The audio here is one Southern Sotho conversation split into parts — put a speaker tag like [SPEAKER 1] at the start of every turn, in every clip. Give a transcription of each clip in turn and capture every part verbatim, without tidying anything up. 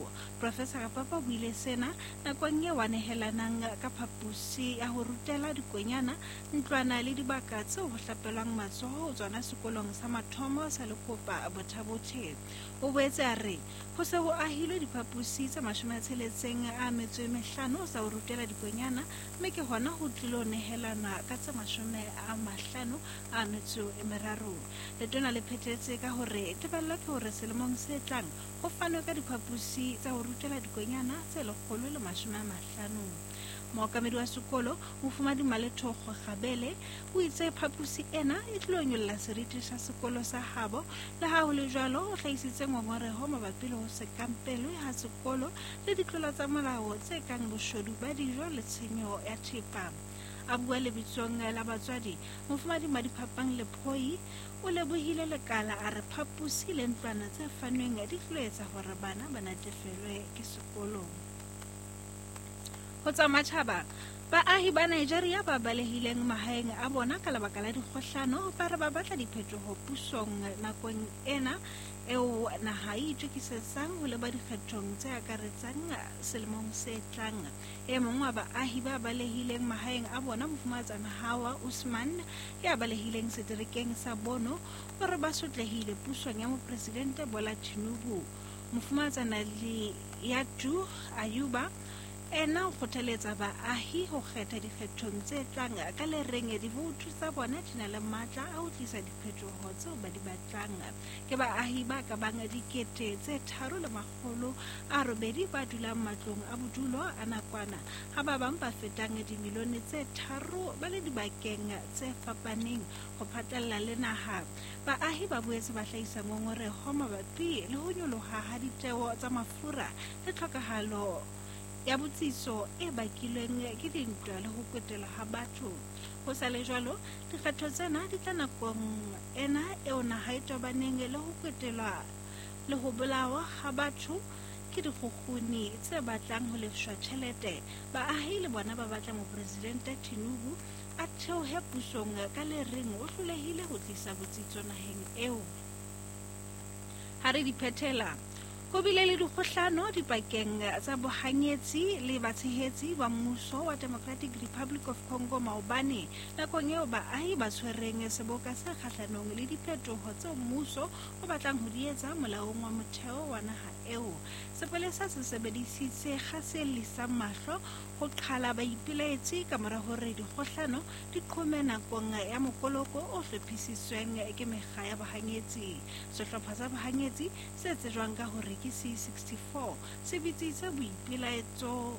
[SPEAKER 1] eo. Professor Rapapa o buile sena nakong eo a nehelanang ka phaposi ya ho rutela dikonyana, ntlwana le dibaka tseo ho hlapelwang matsoho ho tsona sekolong sa mathomo sa Lekopa Botha-Bothe. O boetse a re ho se ho ahilwe diphaposi tse mashome a tsheletseng a metso e mehlano tsa ho rutela dikonyana, mme ke hona ho tlilo nehelanwa ka tse mashome a mahlano a metso e meraro. Letona le phethetse ka hore tebello ke hore selemong se tlang ho fanwe ka diphaposi tsa ho rutela dikonyana tse lekgolo le mashome a mahlano. Mookamedi wa sekolo, Mofumadi Malethokgo Kgabele, o itse phaposi ena e tlilo nyolla seriti sa sekolo sa habo. Le ha ho le jwalo, o hlahisitse ngongoreho mabapi le ho se kampelwe ha sekolo le ditlolo tsa molao tse kang boshodu ba dijo le tshenyo ya thepa. A bua lebitsong la batswadi, Mofumadi Madiphapang Lephoi o lebohile lekala, a re phaposi le ntlwana tse fanweng di tlilo etsa hore bana ba natefelwe ke sekolo. Ho tsa matjhaba, baahi ba Nigeria ba balehileng mahaeng a bona ka lebaka la dikgohlano ba re ba batla diphetoho pusong nakong ena eo naha e itokisetsang ho leba dikgethong tse akaretsang selemong se tlang. E mong wa baahi ba balehileng mahaeng a bona, Mofumahatsana Hawa Usman, ya balehileng seterekeng sa Bono, o re ba sotlehile pusong ya Mopresidente Bola Tinubu. Mofumahatsana Liyatu Ayuba ena o kgothaletsa baahi ho kgetha dikgethong tse tlang ka le reng divoutu tsa bona di na le matla a ho tlisa diphetoho tseo ba di batlang. Ke baahi ba ka bang dikete tse tharo le makgolo a robedi ba dulang matlong a bodulo a nakwana, ha ba bang ba fetang dimilione tse tharo ba le dibakeng tse fapaneng ho phatlalla le naha. Baahi ba boetse ba hlahisa ngongoreho mabapi le ho nyoloha ha ditjeo tsa mafura le tlhokahalo ya botsitso e bakilweng ke dintwa le ho kwetelwa ha batho. Ho sa le jwalo, dikgetho tsena di tla nakong ena eo naha e tobaneng le ho kwetelwa le ho bolawa ha batho ke dikgukguni tse batlang ho lefshwa tjhelete. Baahi le bona ba batla Mopresidente Tinubu a theohe pusong ka le reng o hlolehile ho tlisa botsitso naheng eo. Ha re di phethela, ho bile le dikgohlano dipakeng tsa bohanyetsi le batshehetsi ba mmuso wa Democratic Republic of Congo maobane nakong eo baahi ba tshwereng seboka se kgahlanong le diphetoho tseo mmuso o batlang ho di etsa molaong wa motheo wa naha eo. Sepolesa se sebedisitse kgase e llisang mahlo ho qhala baipelaetsi ka mora hore dikgohlano di qhome nakong ya mokoloko o hlophisitsweng ke mekga ya bohanyetsi. Sehlopha sa bohanyetsi se tsejwang ka hore ke C sixty-four se bitsitse boipelaetso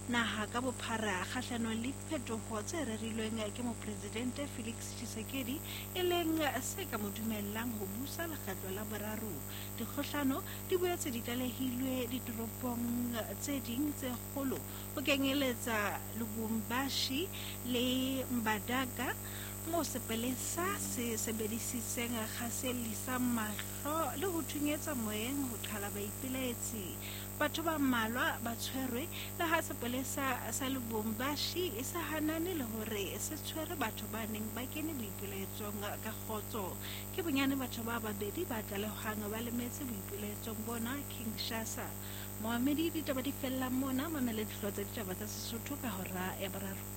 [SPEAKER 1] naha ka bophara kgahlanong le diphetoho tse rerilweng ke Mopresidente Felix Tshisekedi, e leng se ka mo dumellang ho busa lekgetlo la boraro. Dikgohlano di boetse di tlalehilwe ditoropong tse ding tse kgolo ho kenyeletsa Lubumbashi le Mbandaka, moo sepolesa se sebedisitseng kgase e llisang mahlo le ho thunyetsa moyeng ho qhala baipelaetsi. Batho ba mmalwa ba tshwerwe le ha sepolesa sa Lubumbashi e sa hanane le hore se tshwere batho ba neng ba kene boipelaetsong ka kgotso. Ke bonyane batho ba babedi ba tlalehwang ba lemetse boipelaetsong bona Kinshasa. Moamedi, ditaba di fella mona, mamela dihlooho tsa ditaba tsa Sesotho ka hora ya boraro.